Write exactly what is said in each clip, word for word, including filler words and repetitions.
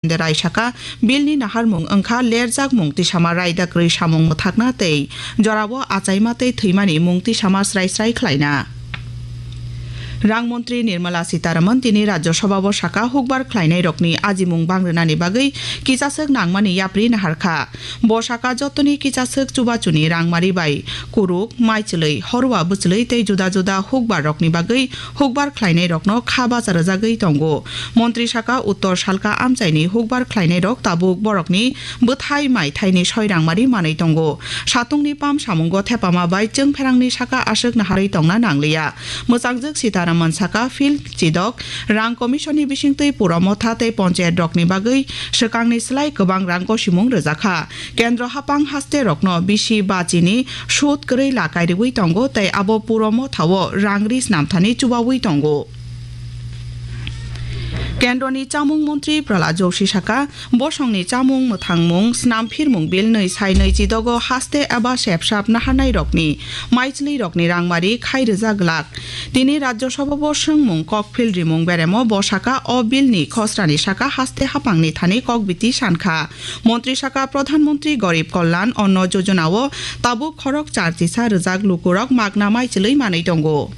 Derai saka, bill ni naharmung wngkha lerjakmung tisama raida kwrwi samung mwthakna tei jorao achaima tei thwimani mung tisama srai srai khlaina. Rang montri Nirmala Sitharaman tini Rajya Sabhao saka hukbar khlainairokni ajimung bangrwnani bagwi kichaswk nangmani yapri naharkha. Bo saka jotoni kichaswk chubachuni rangmari bai kuruk, maichwlwi, horwa bwchwlwi tei juda juda hukbar rokni bagwi hukbar khlainai rokno kha bacha rwjagwi tongo. Montri saka Uttor Salka amchaini hukbar khlainai rok tabuk borokni bwthai mai thaini soi rangmari manwi tongo. Satungni pam samungo thepama bai chwng pherangni saka aswk naharwi tongna nangliya. Mwchangjwk Sitharaman saka field chidok, rang commission ni bisingtwi puro motha tei ponchayat rokni bagwi swkangni slai kwbang rang gosimung rwjakha. Kendro hapang haste rokno bisi bachini sud kwrwi lakai rwui tongo tei abo puro mothao rang ri snamthani chubaui tongo. Kendroni chamung montri Pralad Joshi saka, bosongni chamung mwthangmung snamphirmung bill nwi sai nwi chidogo haste eba sepsap naharnai rokni maichwlwi rokni rangmari khai rwjak glak. Tini Rajya Sabhao swngmung kokphil rimung beremo bo saka o bill ni khosrani saka haste hapangni thani kokbiti sankha. Montri saka Pradhan Montri Garib Kalyan Anna Yojana o tabuk khorok char chisa rwjak lukurok magna maichwlwi manwi tongo.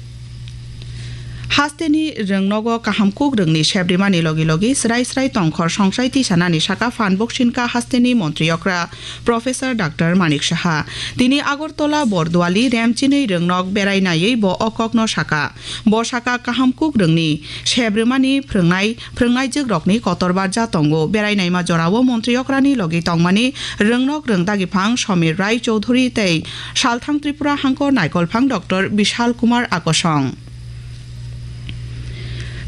Hasteni rwngnogo kaham kuk rwngni sebrimani logi logi srai srai tongkhor songsai tisanani saka phan boksinka hasteni montri okra Professor Doctor Manik Saha. Tini Agartala Borduali remchinwi rwngnok berai naiwi bo o kokno saka. Bo saka kaham kuk rwngni sebrimani phrwngnai phrwngnaijwk rokni kotor barja tongo. Berai naima jorao montri okrani logi tongmani rwngnok rwngdagiphang Samir Rai Chowdhury tei salthang Tripura hangkor naikolphang Doctor Bishal Kumar Akosong.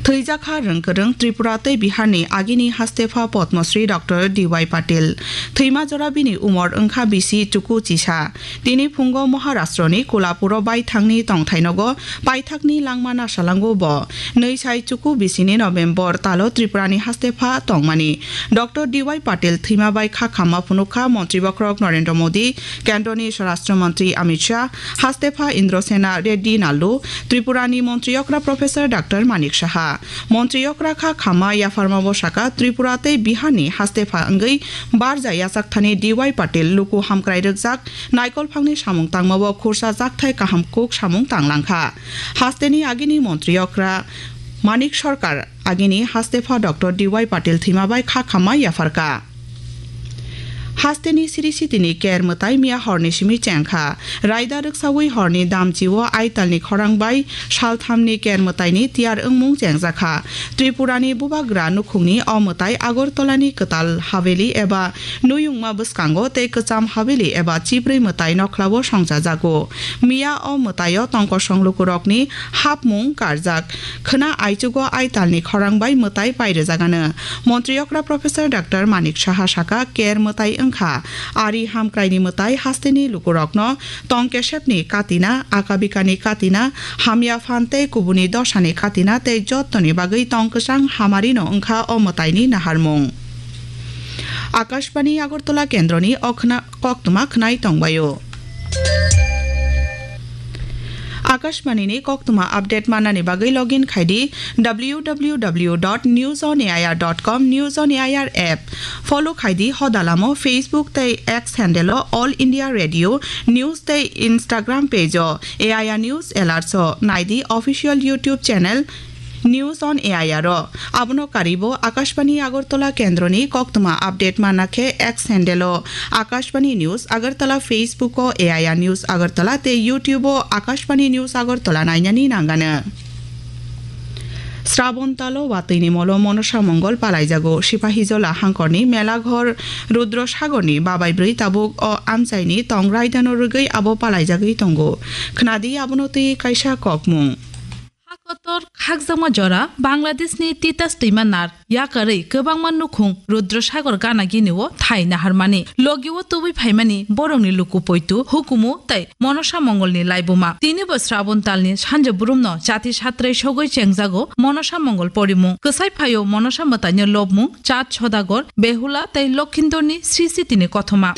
Thwijakha rwngkwrwng Tripura tei Biharni agini hastepha Padma Shri Doctor D Y Patil. Thwima jora bini umor wngkha bisi chuku chisa. Tini phungo Maharashtroni Kolhapuro baithangni tongthainogo paithakni langma nasalango bo. Nwi sai chuku bisini November talo Tripurani hastepha tongmani. Doctor D Y Patil thwima bai kha khamma phunukha Montri Bokhorok Narendra Modi, Kendroni Swarashtra Mantri Amit Shah, hastepha Indrasena Reddy Nallu, Tripurani Montri Okra Professor Doctor Manik Saha. Montri Okra kha khamma yapharma bo saka Tripura tei Biharni hastepha wngwi barja yachakthani D Y Patil luku hamkrai rwkjak naikolphangni samung tangmao khursa jakthai kaham kuk samung tanglangkha. Hasteni agini Montri Okra Manik Sarkar agini hastepha Doctor D Y Patil thwima bai kha khamma yapharka. Hasteni siri sitini ker mwtai miya horni simi chengkha. Raida rwksaui horni damchio aitalni khorang bai salthamni ker mwtaini tiyar wngmung chengjakha. Tripurani bubagra nukhungni o mwtai Agartalani kwtal haveli eba nuyungma bwskango tei kwcham haveli eba chibrwi mwtai nokhlao songchajago. Miya o mwtaio tongkosong lukurokni hapmung karjak khwna aichugo aitalni khorang bai mwtai pairwjagano. Montri okra Professor Doctor Manik Saha saka, ker mwtai wngkha. Ari hamkraini mwtai hasteni lukurokno tong kesepni katina, akabikani katina, hamya phan tei kubuni dosani katina tei jottoni bagwi tong kwchang hamarino wngkha o mwtaini naharmung. Akashbani Agartala kendroni o khna-, koktwma khnai tongbaio. Akashbani ni koktwma update manani bagwi login khaidi w w w dot news on a i r dot com, News on A I R app. Follow khaidi hodalamo Facebook tei X handle o All India Radio News tei Instagram page o A I R News Alerts o naidi official YouTube channel News on A I R o. Abono karibo Akashbani Agartala kendroni koktwma update manna khe X handle o Akashbani News Agartala, Facebook o A I R News Agartala tei YouTube o Akashbani News Agartala nainani nangano. Srabon talo watwini molo Monosa Mongol palaijago. Sipahijola hangkorni Melaghor Rudro Sagorni babai bwrwi tabuk o amchaini tong raidano rwgwi abo palaijagwi tongo. Khnadi abono twi kaisa kokmung. Ha kotor khakjakma jora Bangladeshni Titas twima nar yakarwi kwbangma nukhung Rudra Sagor gana gini o thai naharmani. Logi o tubui phaimani borokni luku poitu, hukumu tei Monosa Mongolni laibuma. Tini bo Srabon talni sanja burumno chati satrai sogwi chengjago Monosa Mongol porimung. Kwsai phaio Monosa mwtaino lobmung, Chat Sodagor, Behula tei Lokhindorni Sri Sitini kothoma.